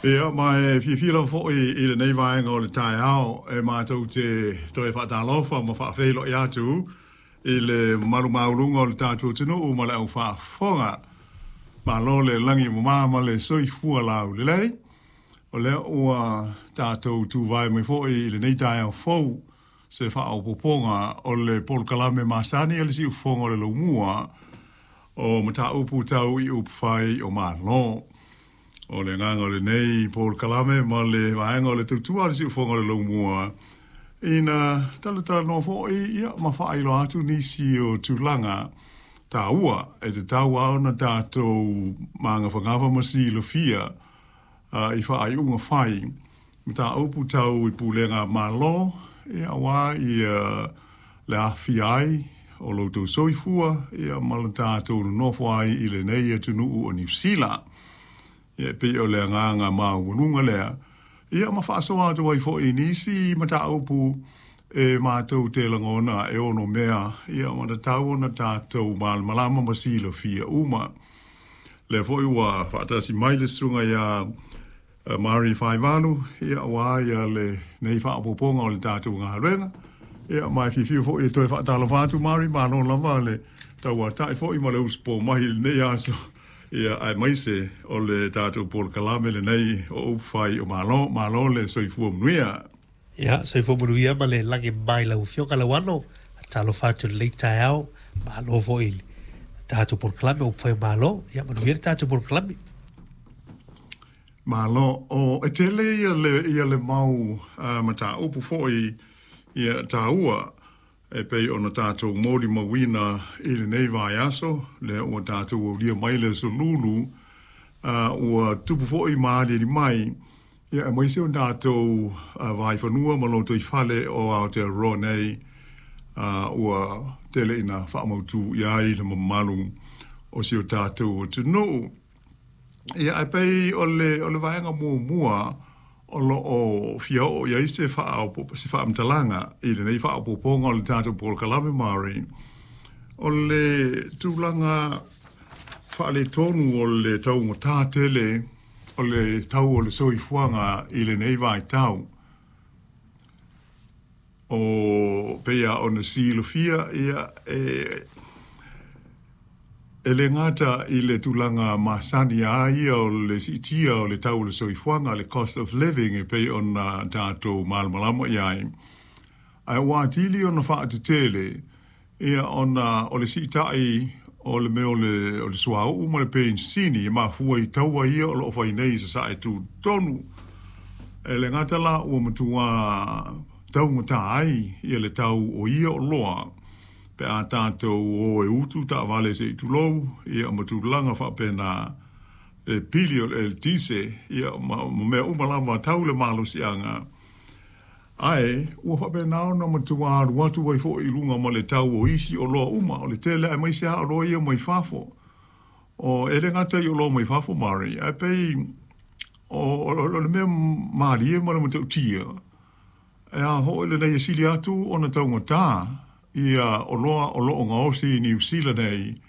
Ia, ma e fiafia lava foi i lenei vaega o le taeao e matou te toe faatalofa ma faafeiloai atu i le mamalu maualuga o le tatou atunuu ma le au faafofoga. Malo le lagi e mama ma le soifua laulelei. O lea ua tatou tuvae mai foi i lenei taeao fou se faaopoopoga o le polokalame masani a le Siufofoga o le Laumua o mataupu tau i upufai o Malo. O le agaga o lenei polokalame ma le vaega o le tautua a le Siufofoga o le Laumua, ina talatalanoa foi ia ma faailoa atu nisi o tulaga taua e tatau lava ona tatou magafagafa ma silafia i faaiuga fai mataupu tau i pulega a Malo, ia aua ia le aafia ai o lo outou soifua ia ma le tatou nonofo ai i lenei atunuu o Niu Sila. Ia e pei o le agaga maualuga lea, ia ma faasoa atu ai foi i nisi mataupu e matou te lagona e ono mea ia ma tatau ona tatou malamalama ma silafia uma. Lea foi ua faatasi mai le susuga ia Mari Faivalu, ia aua ia lenei faaopoopoga o le tatou galuega. Ia ma e fiafia foi e toe faatalofa atu Mari, malo lava le tauatai foi ma le usupo mai i lenei aso. Ia aemaise o le tatou polokalame lenei o upu fai o Malo, malo le soifua manuia. Ia, soifua manuia ma le lagi mai lau Afioga Lauano. Talofa atu i lenei taeao, malo foi i le tatou polokalame o upu fai o Malo. Ia, manuia le tatou polokalame. Malo, o e tele ia le, ia le mau mataupu foi ia taua e pei ona tatou molimauina i lenei vaiaso, lea ua tatou aulia mai le aso Lulu, ua tupu foi ma aliali mai, ia aemaise o tatou vaifanua ma lotoifale o Aotearoa nei, ua tele ina faamautu i ai le mamalu o si o tatou atunuu. Ia, ae pei o le, o le vaega muamua o lo o fia oo i ai se se faamatalaga i lenei faaopoopoga o le tatou polokalame Māori, o le tulaga faaletonu o le taugata tele o le tau o le soifuaga i lenei vaitau. O pei lava ona silafia, ia, e, e le gata i le tulaga masani lava ia o le siitia o le tau o le soifuaga, le cost of living e pei ona tatou malamalama i ai, ae ua atili ona faatetele ia ona o le siitai o le mea o le, o le suauu ma le penisini e mafua i taua ia o lo o fai nei i Sasae Tutotonu. E le gata la ua matua taugata ai ia le tau o ia oloa pe a tatou o e utu taavale se i tulou, ia ma tulaga faapena, le pili o le eletise, ia ma, ma mea uma lava tau le malosiaga. Ae ua faapena ona matua alu atu ai foi i luga ma le tau o isi oloa uma, o le tele aemaise lava oloa ia mai fafo. O, e le gata i oloa mai fafo Mari, ae pei o, o, o le mea malie ma le matautia, e a foi lenei e sili atu ona taugata ia oloa o lo o gaosi i Niu Sila nei.